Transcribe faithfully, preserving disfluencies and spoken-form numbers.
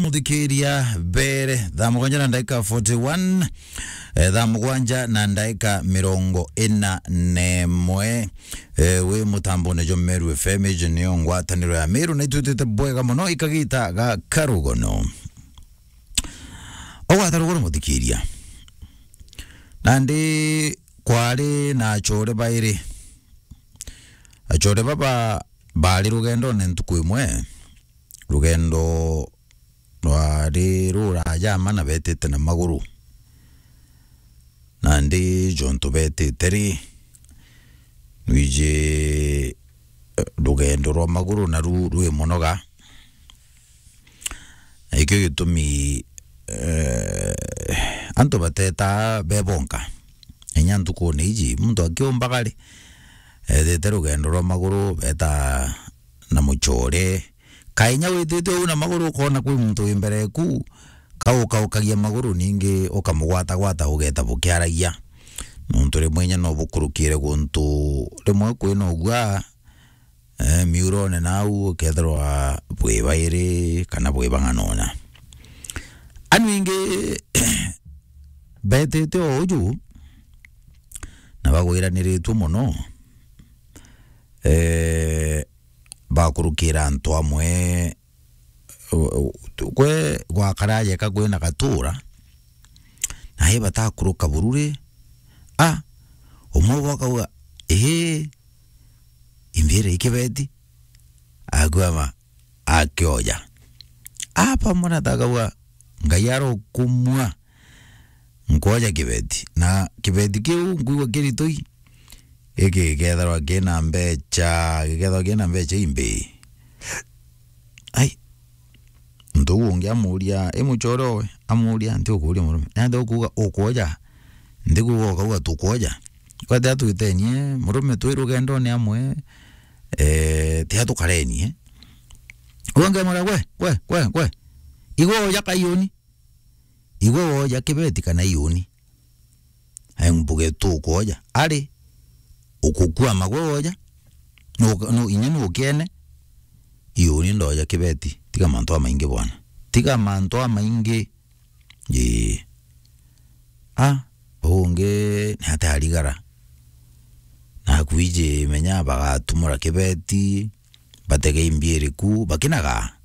muthikiria, mbere thaa mugwanja na ndaika forty-one, eh, thaa mugwanja na ndaika mirongo ina na imwe, eh, wi mutambone jwa Meru F M, iji niyo ngwataniro ya Meru, na itwitite bwega muno ikagita ga karugono. Ogwata rugono muthikiria. Nandi kwari na achore bairi. Achore baba bari rugendone ntuku imwe. Rugendo rwari ruraja ma na betite na maguru. Nandi jontu betite ri, nwiji, eh, rugendo rwa maguru naru rwi munoga. Na ikio gitumi, eh, antu bateta bebonka. Inya ntukune iji, muntu akiumbaga ri, ethite rugendo rwa maguru, beta na muchore. Kainya witite uu na maguru, ukona kwi muntu wi mbere eku, kaukaukagia maguru, ningi ukamugwatagwata, ugeta bukiaragia. Nontu rimwe inya no bukurukire guntu rimwe kwina ugua, eh, miurone nau, ukethirwa bwi bairi kana bwi bang'anona. Anu ingi betite o uju, na bagwiraniritue mono, eh, bakurukira antu amwe, u-, u-, kwe gwakara jeka kwina gatura, na i batakuruka bururi, a, umwe bo akauga, "Ii, imbiire ikibeti," akwama akioja. Apa mwana takauga, "Ngai arokumua, nkwoja kibeti." Na kibeti kiu nkwigua kiritui, giki gikethirwa kina mbecha, gikethirwa kina mbecha imbi. Ai, muntu uu ungi amuria, i muchore owe, amuria, "Nti ukuria murume? Nandi ukuuga ukwoja?" Nti kuuga ukauga tukwoja. Kwethira twitenie, murume twi rugendone amwe, eh, tia tukarenie. Uga ngemwira, "Gwe, gwe, gwe, gwe. Igwe woja ka iuni? Igwe woja kibeti kana iuni?" Ai, mbuge tukwoja. Ari, ukukwama gwe woja? Nu-, nu-, inya nukiene? Iuni ndoja kibeti. Tiga mantu amaingi bwana. Tiga mantu amaingi. Ii. A, ungi ni ati arigara. Na akwiji menya bagatumura kibeti, batege imbiiri ku, bakinaga.